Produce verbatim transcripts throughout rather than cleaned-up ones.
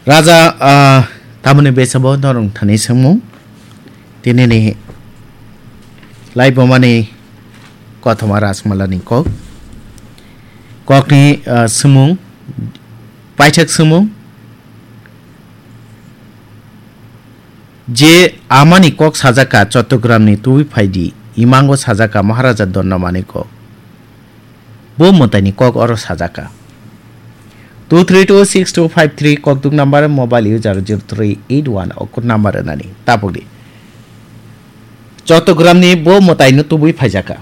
Raja, ah, tamoni besabo norong thani sengmung. Tinini laibomani kothoma Rajmalani kok. Kokni, ah, sengmung, paithak sengmung. Je amani kok sajaka Chottogramni tubui phaidi, imango sajaka Maharaja Dondamani kok. Bo mwtaini kok oro sajaka. Two three two six two five three kokduk number, mobile user zero three eight one o code number rwnani. Tapukdi. Chottogramni bo mwtaino tubui phaijaka.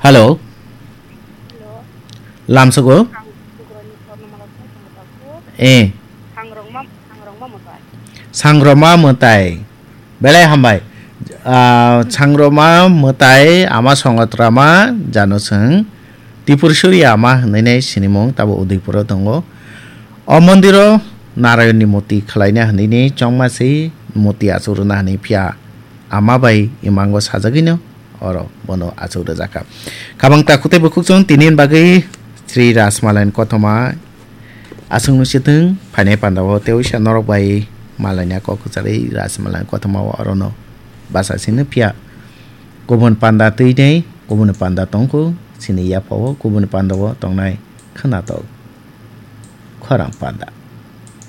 Hello. Hello. Lamsogo? Ang Sugrani Swarno Mala Song Song Taku. Eh. Sangrongma, Sangrongma Mwtai. Sangroma Mwtai. Belai hambai. Ah, Sangroma Mwtai ama Songotrama jano chwng Tripur Surya ama hwnwi nai sinimung tabo Udaipuro tongo. O mondiro Narayonni murti khwlaina hwnwi ni chongma se murti achuk rwna hwnwi phiya ama bai imango sajagwino oro bono achuk rwjakha. Kabang takhuk tei bukhuk chwng tini bagwi Sri Rajmalani kothoma aswk nung sitwng phainai panda o tei uisa norok bai malaina kok kwcharwi Rajmalani kothoma o orono basa sino phiya kubun panda twi nei kubun panda tongkhu chini yapha o kubun panda o tongnai khwnatok khorang panda.